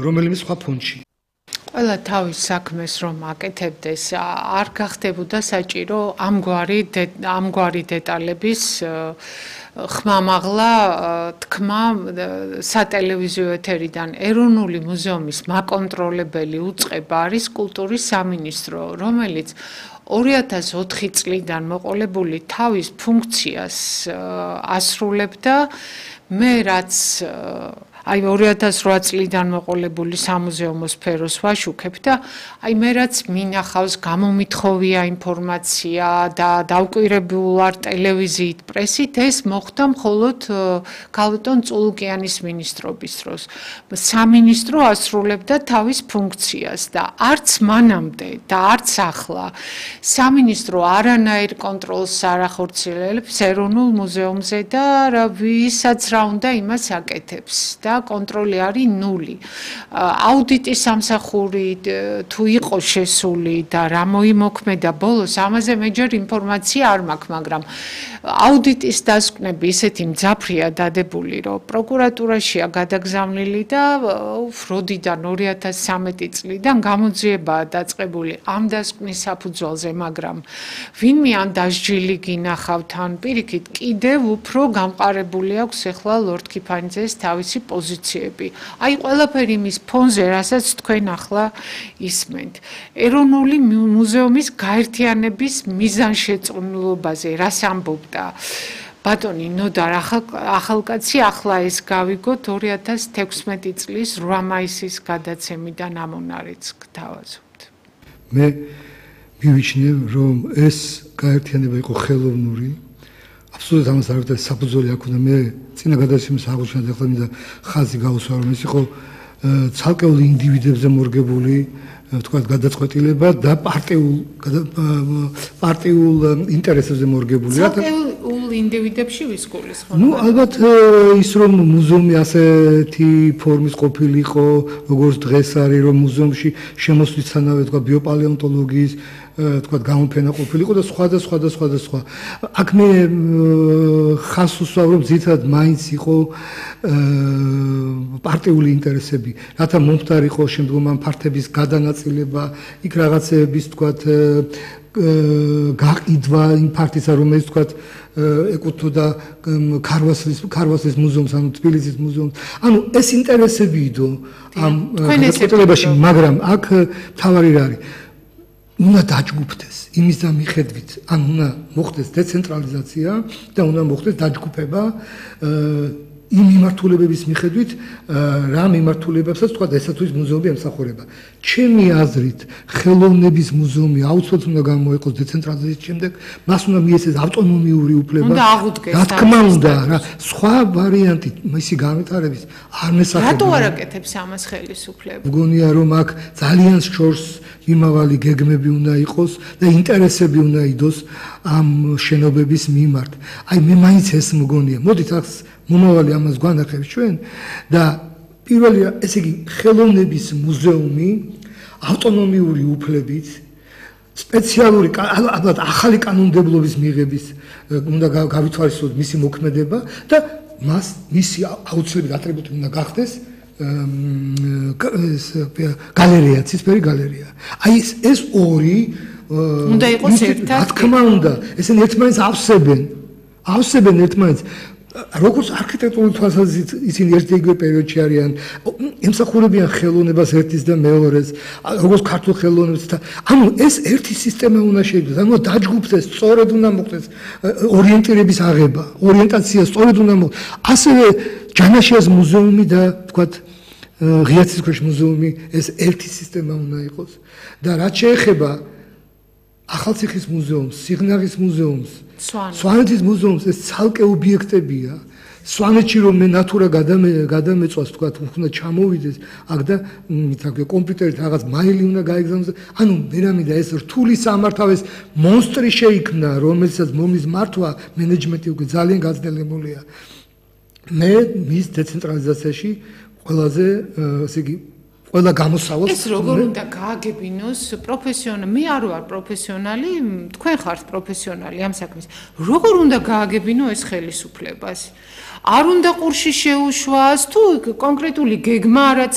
რომელიმე სხვა ფონდში. ყველა თავის საქმეს რომ აკეთებდეს, არ გახდებოდა საჭირო ამგვარი დეტალების ხმამაღლა თქმა სატელევიზიო ეთერიდან. ეროვნული მუზეუმის მაკონტროლებელი უწყება არის კულტურის სამინისტრო, რომელიც 2004 წლიდან მოყოლებული თავის ფუნქციას ასრულებდა. მე რაც აი 2008 წლიდან მოყოლებული სამუზეუმო სფეროს ვაშუქებ და აი მე რაც მინახავს გამომითხოვია ინფორმაცია და დავკვირებულ არ ტელევიზიით, პრესით, ეს მოხდა მხოლოდ ქალბატონ წულუკიანის მინისტრობის დროს. სამინისტრო ასრულებდა თავის ფუნქციას და არც მანამდე და არც ახლა სამინისტრო არანაირ კონტროლს არ ახორციელებს ეროვნულ მუზეუმზე და ვისაც რა უნდა იმას აკეთებს და კონტროლი არის ნული. აუდიტის სამსახური თუ იყო შესული და რა მოიმოქმედა ბოლოს, ამაზე მეჯერ ინფორმაცია არ მაქვს, მაგრამ აუდიტის დასკვნები ისეთი მძაფრია დადებული, რომ პროკურატურაშია გადაგზავნილი და ფროდიდან 2013 წლიდან გამოძიებაა დაწყებული ამ დასკვნის საფუძველზე, მაგრამ ვინმე ან დასჯილი გინახავთ, ან პირიქით კიდევ უფრო გამყარებული აქვს ახლა ლორდ ქიფანიძეს თავისი პოზიციები. აი ყველაფერი იმის ფონზე, რასაც თქვენ ახლა ისმენთ. ეროვნული მუზეუმის გაერთიანების მიზანშეწონილობაზე რას ამბობდა ბატონი ნოდარ ახალკაცი, ახლა ეს გავიგოთ 2016 წლის 8 მაისის გადაცემიდან ამონარიც გთავაზობთ. მე მივიჩნევ, რომ ეს გაერთიანება იყო ხელოვნური. აბსოლუტურად ამას არ ვიტყვი საფუძველი აქ უნდა მე წინა გადაცემის აღოჩინა ახლა მინდა ხაზი გავუსვა რომ ეს იყო ცალკეული ინდივიდებზე მორგებული ვთქვათ გადაწყვეტილება და პარტიულ ინტერესებზე მორგებული რა ცალკეულ ინდივიდებში ვისკულის ხო? ნუ ალბათ ის რომ მუზეუმი ასეთი ფორმის ყოფილიყო როგორც დღეს არის რომ მუზეუმში შემოსვლისთანავე ვთქვათ ბიოპალეონტოლოგიის თქვა გამოფენა ყოფილიყო და სხვა. აქ მე ხას უსვამ რომ ძირითადად მაინც იყო პარტიული ინტერესები, რათა მომხდარიყო შემდგომ ამ ფართების გადანაწილება, იქ რაღაცეების თქვა გაყიდვა იმ ფართისა, რომელიც თქვა ეკუთვნოდა ქარვასლის მუზეუმს, ანუ თბილისის მუზეუმს. ანუ ეს ინტერესები იდო ამ გადაწყვეტილებაში, მაგრამ აქ თავარი რა არის? უნდა დაჯგუფდეს იმის და მიხედვით, ან უნდა მოხდეს დეცენტრალიზაცია და უნდა მოხდეს დაჯგუფება იმ მიმართულებების მიხედვით, რა მიმართულებებსაც თქვა ესათვის მუზეუმი ემსახურება. ჩემი აზრით, ხელოვნების მუზეუმი აუცილებლად უნდა გამოიყოს დეცენტრალიზაციის შემდეგ, მას უნდა მიეცეს ავტონომიური უფლება. უნდა აღუდგეს. რა თქმა უნდა, რა სხვა ვარიანტი მისი განვითარების არ მესახება. რატო არ აკეთებს ამას ხელისუფლება? მგონია რომ აქ ძალიან შორს მიმავალი გეგმები უნდა იყოს და ინტერესები უნდა იდოს ამ შენობების მიმართ. აი მე მაინც ეს მგონია. მოდით ახ მომავალი ამას გვანახებს ჩვენ და პირველია ესე იგი ხელოვნების მუზეუმი ავტონომიური უფლებით სპეციალური ალბათ ახალი კანონმდებლობის მიღების უნდა გავითვალისწინოთ მისი მოქმედება და მისი აუცილებელი ატრიბუტი უნდა გახდეს გალერეა, ცისფერი გალერეა. აი ეს ორი უნდა იყოს ერთად. რა თქმა უნდა, ესენი ერთმანეთს ავსებენ ერთმანეთს. როგორც არქიტექტურული თვალსაზრისით ისინი ერთ-იგივე პერიოდში არიან, ემსახურებიან ხელოვნებას ერთის და მეორეს, როგორც ქართულ ხელოვნებას და ანუ ეს ერთი სისტემა უნდა შეიქმნას, ანუ დაჯგუფდეს, სწორედ უნდა მოხდეს ორიენტირების აღება, ორიენტაცია სწორედ უნდა მოხდეს. ასევე ჯანაშიას მუზეუმი და თქვათ ღიაცის ქვეშ მუზეუმი ეს ერთი სისტემა უნდა იყოს და რაც შეეხება ახალციხის მუზეუმს, სიღნაღის მუზეუმს, სვანეთის მუზეუმს ეს ცალკე ობიექტებია. სვანეთში რომ მე ნატურა გადამეწვას თქვა უნდა ჩამოვიდეს აქ და მითქე კომპიუტერით რაღაც მაილი უნდა გაიგზავნოს. ანუ მერამიდა ეს რთული სამართავეს მონსტრი შეიქმნა, რომელსაც მომის მართვა მენეჯმენტი უკვე ძალიან გაძლებულია. მე მის დეცენტრალიზაციაში ყველაზე ესე იგი ყველა გამოსავალს ეს როგორ უნდა გააგებინოს პროფესიონალი? მე არ ვარ პროფესიონალი, თქვენ ხართ პროფესიონალი ამ საქმის. როგორ უნდა გააგებინო ეს ხელისუფლებას? არ უნდა ყურში შეუშვას თუ კონკრეტული გეგმა რაც